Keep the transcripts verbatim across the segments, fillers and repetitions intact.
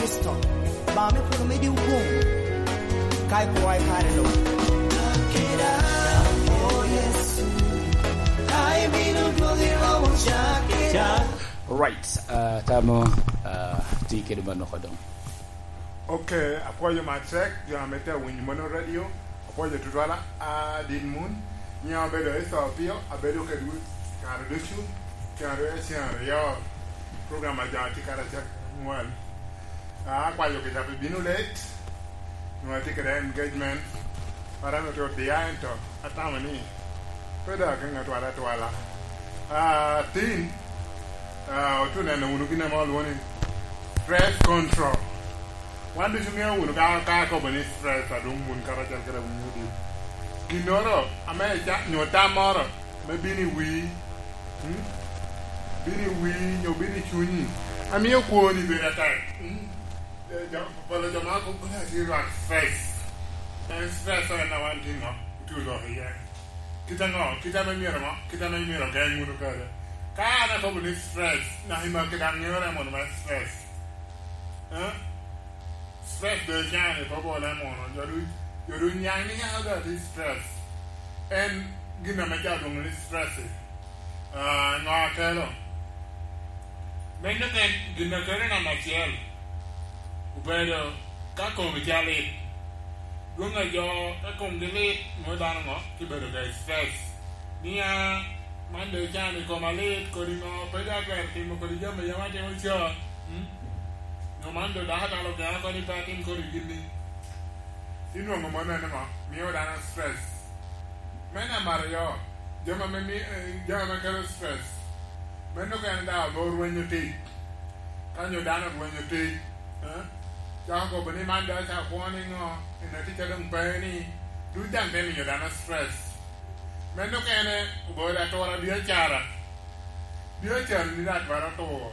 Kristo, ba me polo medi wun, ka ikwowa i kare lo. Right, uh, tamo, uh, ti kede manoko dong. Ok, apwoyo matek jo ame tye awinyo mono radio, apwoyo tutwal adit mun. Nyiŋa obedo Esa Opio, abedo kedwu kare ducu, kare cen aryo, program a jo atye karacel angwen. Ah, akwayo kica pi bino late, nwoŋo atye kede engagement, para nwoŋo tye odiya, ento atamo ni pe dok ageŋ atwala atwala. Ah, tin, ah, otu neno wunu gin ame olwoŋo ni stress control. Wan ducu ŋeo wunu ka, ka akobo ni stress, adwoŋ wun karacel kede wudi. Ginnoro ame ica-, nyo tam moro me bino i wii, mm? Bino i wii, nyo bino i cunyi, amio kwoni bedo atek, mm? Eh, jo, polo jo ma kobo ni atye lwak stress. En stress en a wan tye ŋo? Otye oloko iye. Kit aŋo? Kit ame myero ŋo? Kit ame myero ogeŋ wunu kede. Ka an akobo ni stress, naka i maki daŋ ŋeo re mono me stress. Eh? Stress doŋ can i kobo le mono. Jo du-, jo du nyaŋ ni nyaŋ doŋ atye stress. En gin ame jo lwoŋo ni stress. Ah, ŋo akelo? Meno en gin a kelo namba acel. Obedo ka komi tye alit. Dwoŋ a jo ka komgi lit, nwoŋo dano ŋo? Kibedo ka i stress. Nia, man doŋ can i koma lit, kodi ŋo, pe doŋ atwero timo kodi jami a yam atimo ca. Mm? Nyo man doŋ dako atalo gena kodi pe atim kodi gin-ni. Inwoŋo mano en ŋo? Mio dano stress. Me namba aryo, jami ame mi-, eh, jami ame kelo stress. Meno kene daŋ obe orwenyo tic. Ka nyo dano orwenyo tic, eh, cako kobo ni man doŋ acako kwo ni ŋo, en atic a doŋ pe ni, duc daŋ te miyo dano stress. Meno kene obedo atura biacara. Biacara ni daŋ twero tur.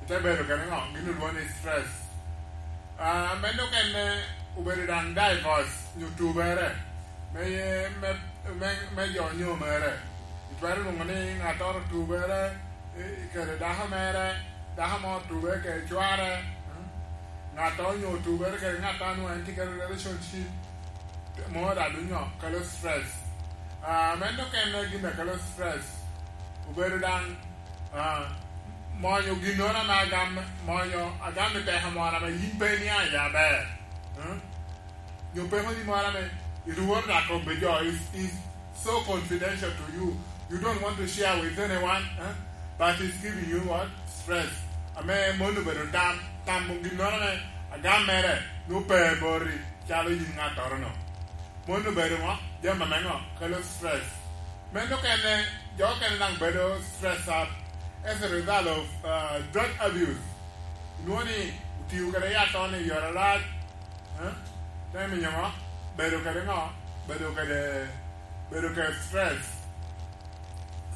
Ite bedo kene ŋo, gin olwoŋo ni stress. Ah, meno kene obedo daŋ divorce, nyo tubere, me, me, me, me jo onyo mere. Itwero lwoŋo ni ŋattoro otubere, i, i kede dako mere, dako mo otube kede cware, mm? Ŋattoro onyo otubere kede ŋattoro nwoŋo en tye kede relationship, mo daŋ dunyo kelo stress. Ah, meno kene gin a kelo stress. Obedo daŋ, ah, monyo ginnoro ame agam, monyo agam i peko moro ame yin pe iniaŋ iye aber. Mm? Nyo peko ni moro ame irworo dako be jo is, is so confidential to you. You don't want to share with anyone, eh? But it's giving you what? Stress. Ame mon obedo tam, tamo ginnoro ame agam mere nwoŋo pe boti, calo yin ŋattoro-no. Mon obedo ŋo? Jami ame ŋo? Kelo stress. Meno kene, jo okene daŋ bedo stress up as a result of, uh, drug abuse. Inwoŋo ni otio kede yat on i yore arac, eh? Te miyo ŋo? Bedo kede ŋo? Bedo kede, bedo kede stress.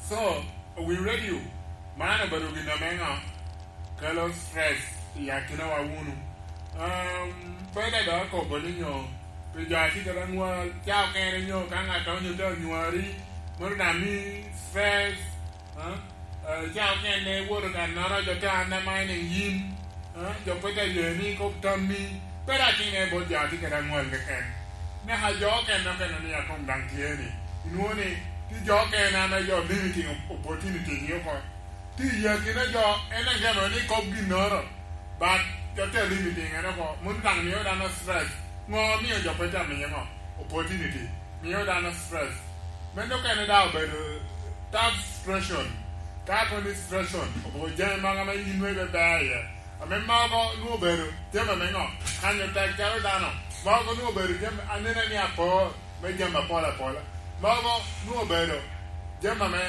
So, we ready you. Man obedo gin ame ŋo? Kelo stress i akinawa wunu. Um, pe daŋ dok akobo ni nyo, pi jo a tye kede anywal, ca okene nyo ka ŋat onyo te onywari, mono daŋ mi stress, eh? Eh, ca okene iwoto kannoro, jo te undermining yin, eh? Jo pe te ye ni kop tammi, pe daŋ tine bot jo a tye kede anywal keken. Naka jo okene okene ni akom daŋ tye ni, inwoŋo ni, tye jo okene ame jo limiting opportunity gi oko. Tye i akina jo, en ageno ni kop ginnoro, but jo te limiting en oko, mono daŋ mio dano stress. Ŋo mio jo pe te miye ŋo? Opportunity. Mio dano stress. Meno kene daŋ obedo tough situation. Ka kono ni situation, obedo jami mogo ame yin nwoŋo ibe ber iye. Ame mogo nwoŋo obedo jami ame ŋo? Kanyo tek calo dano. Mogo nwoŋo obedo jami anene ni apor me jami apol apola. Mogo nwoŋo obedo jami ame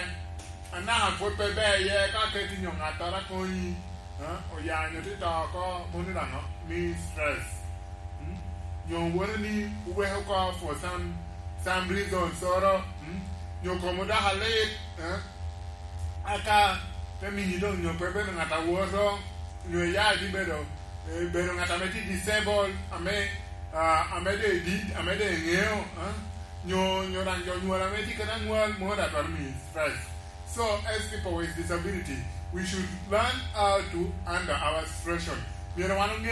anaka pwod pe ber iye ka keti nyo ŋattoro akonyi, eh, oya nyo te to oko, mono daŋ mi stress. Mm? Nyo wone ni oweko oko for some, some reasons oro, mm? Nyo komo dok alit, eh? Aka te miyi doŋ nyo pe bedo ŋat awoto, nyo iya tye bedo, eh, bedo ŋat ame tye disabled, ame, ah, ame doŋ idit, ame doŋ iŋeo, eh? Nyo, nyo daŋ jo nywal ame tye kede anywal, mono daŋ twero miyi stress. So, as people with disability, we should learn how to handle our situation. Myero wan oŋe